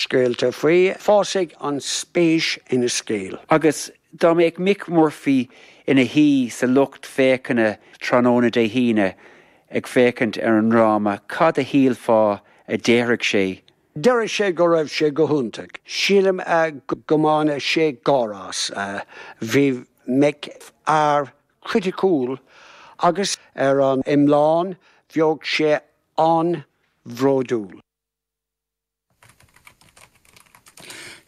scéalta faoi, fásfaidh an spéis ina scéal. Agus dá mbeadh Mick Murphy ina shuí sa lucht féachana tráthnóna Dé hAoine ag féachaint ar an ndráma, cad a shílfeá a déarfadh sé? Déarfadh sé go raibh sé go hiontach. Sílim go mbainfeadh sé gáire as. Bhí Mick fear criticiúil agus ar an iomlán bheadh sé an-bhródúil.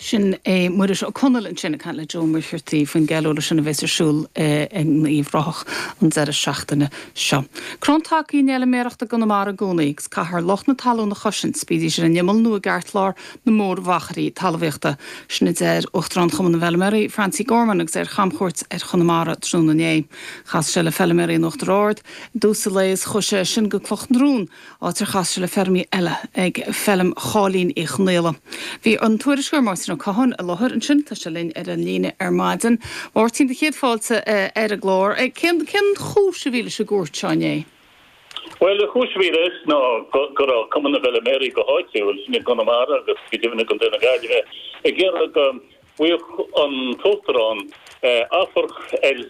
Sin é Muiris Ó Conaill ansin ag caint le Joe Ó Muircheartaigh faoin gceiliúradh sin a bheas ar siúl in Uíbh Ráthach an deireadh seachtaine seo. Crann taca í an fheilméaracht i gConamara i gcónaí agus caithfear lucht na talún a chosaint, bídís ar an imeall nó i gceartlár na mórmhachairí talmhaíochta. Sin a deir Uachtarán Chumann na bhFeilméaraí, Francie Gorman agus é ar chamchuairt ar Chonamara tráthnóna inné. Chas sé le feilméaraí in Uachtar Ard i dtús an lae is chuaigh sé as sin go Cloch na Rón áit ar chas sé le feirmeoirí eile ag feilm Cháilín Uí Chonaola. Bhí an tuairisceoir Máirtín Ó Catháin i láthair ansin, tá sé linn ar an líne ar maidin. Máirtín, do chéad fáilte ar an gclár. Cén cén chúis a bhí leis an gcuairt seo inné? Bhuel, an chúis a bhí leis ná go raibh Cumann na bhFeilméaraí go háitiúil, sin i gConamara agus go deimhin i gContae na Gaillimhe, ag iarraidh go bhfaigheadh an tUachtarán amharc ar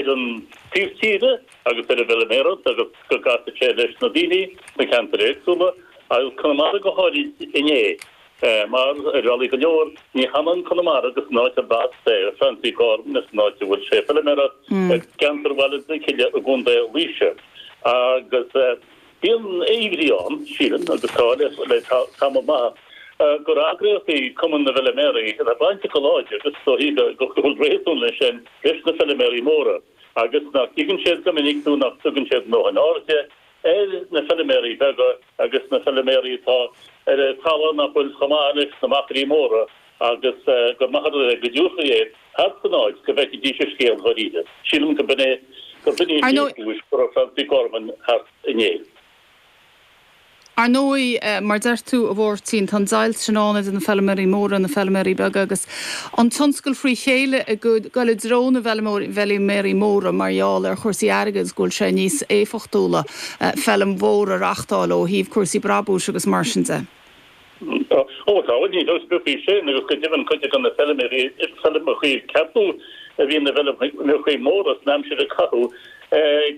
an taobh tíre agus ar an bhfeilméaracht agus go gcasfadh sé leis na daoine sna ceantair éagsúla, agus Conamara go háirid inné, mar, ar bhealaí go leor, ní hionann Conamara agus an áit arb as Francie Gorman is an áit a bhfuil sé ag feilméaracht, i gceantar Bhaile na Cille i gContae Laoise. Agus. Bíonn imní ann, sílim, agus tá le tamall maith, gur eagraíocht í Cumann na bhFeilméaraí atá bainteach go láidir, agus is dóichí go bhfuil réasún leis sin, leis na feilméaraí móra, agus nach dtuigeann siad go minic nó nach dtugann siad a ndóthain airde ar na feilméaraí beaga agus na feilméaraí atá ar talamh nach bhfuil chomh maith leis na machairí móra agus gur maith an rud é go dtabharfaí é thart san áit go bhfeicfidís an scéal dháiríre. Sílim go b'in é gur b'in í an chéad chúis go raibh Francie Gorman thart inné. Ar ndóigh, mar deir tú, a Mháirtín, tá an deighilt sin ann idir na feilméaraí móra na feilméaraí beaga agus an tionscal frí chéile ag dul i dtreo na bhfeilméaraí móra mar gheall ar chúrsaí airgid agus go bhfuil sé níos éifeachtúla feilm mhór a reachtáil ó thaobh cúrsaí brabúis agus mar sin de. Ó tá, bhuel níl dabht ar bith faoi sin agus go deimhin cuid de na feilméaraí, feilmeachaí ceapadh a bhí ina bhfeilmeachaí móra san aimsir a caitheadh,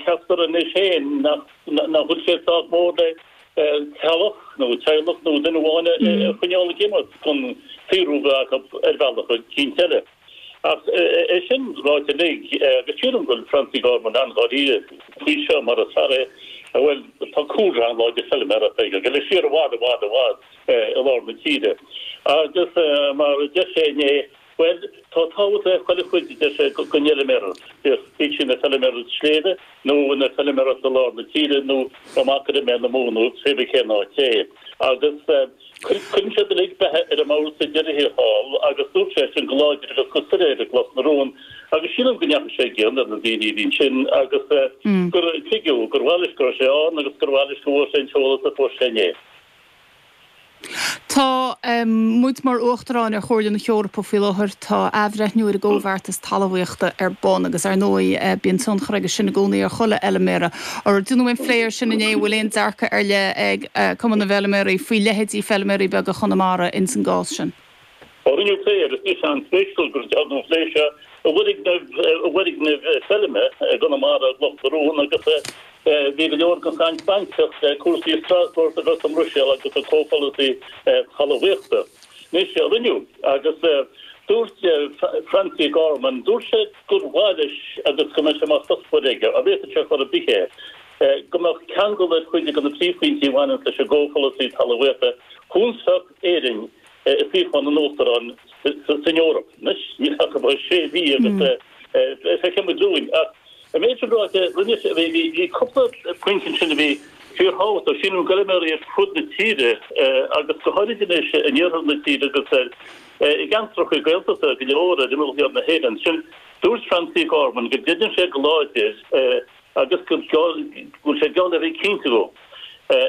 ceaptar anois féin nach bhfuil sé sách mór le teaghlach nó teaghlach nó duine amháin a choinneáil ag imeacht chun saothrú a bheith acu ar bhealach eicínt eile. Ach é sin ráite uilig, agus sílim go bhfuil Francie Gorman an-dháiríre faoi seo, mar is fear é a bhfuil, tá cúlra an-láidir feilméarachta aige, ag dul siar i bhfad, i bhfad, i bhfad i lár na tíre. Agus mar a deir sé inné, bhuel, tá tábhacht le chuile chuid, a deir sé, den fheilméaracht, bíodh sí ina feilméaracht sléibhe nó ina feilméaracht i lár na tíre nó amach ar imeall na Mumhan nó pé bith cén áit é. Agus. Cuireann siad uilig beatha ar an mbord sa deireadh thiar thall agus dúirt sé sin go láidir agus go soiléir i gClos na Rón agus sílim go ndeachaigh sé i gcion ar na daoine a bhí ansin agus gur tuigeadh gur mhaith leis go raibh sé ann agus gur mhaith leis go bhfuair sé an t-eolas a fuair sé inné. Tá muid mar Uachtaráin ar Chomhairle na hEorpa faoi láthair. Tá athbhreithniú ar an gcomhbheartas talmhaíochta ar bun agus ar ndóigh bíonn tionchar aige sin i gcónaí ar chuile fheilméara. Ar déanadh aon phlé air sin inné? An bhfuil aon dearcadh ar leith ag Cumann na bhFeilméaraí faoi leithéidí feilméaraí beaga Chonamara ins an gcás sin? Ó rinneadh plé air, is an-spéisiúil gur dearnadh an plé seo i bhfoirgneamh feilme i gConamara, i gCloch na Rón, agus bhí go leor den chaint bainteach le cúrsaí i Strasbourg agus i mBruiséal agus an comhpholasaí talmhaíochta. Anois, rinneadh, agus dúirt Francie Gorman, dúirt sé gur mhaith leis agus go mbeadh sé mar chuspóir aige, dá bhféadfadh sé chor ar bith é, go mbeadh ceangal ar chuid de na príomhphointí a bhaineanns leis an gcomhpholasaí talmhaíochta chunsach Éirinn i suíochán an Uachtaráin san Eoraip. Anois, níl ach about sé mhí agus feicfidh muid dúinn. Ach an méid sin ráite, rinne sé, bhí cúpla pointe ansin a bhí fíorthábhachtach. Sílim go bhfeilméaraí ar fud na tíre agus go háirid anois in iarthar na tíre agus i gceantracha Gaeltachta go leor ar imeall thiar na hÉireann. Sin, dúirt Francie Gorman go gcreideann sé go láidir agus go bhfuil sé geall le bheith cinnte go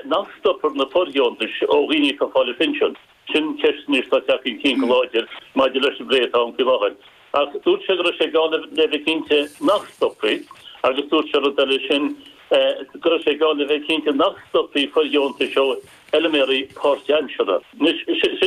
nach stopfar na fóirdheontais ó dhaoine atá ag fáil a bpinsean. Sin ceist anois atá ag teacht chun cinn go láidir maidir leis an bplé atá ann faoi láthair. Ach dúirt sé go raibh sé geall le bheith cinnte nach stopfaí agus dúirt sé rud eile, sin go raibh sé geall le bheith cinnte nach stopfaí fóirdheontais ó fheilméaraí páirtaimseartha. Anois, sin.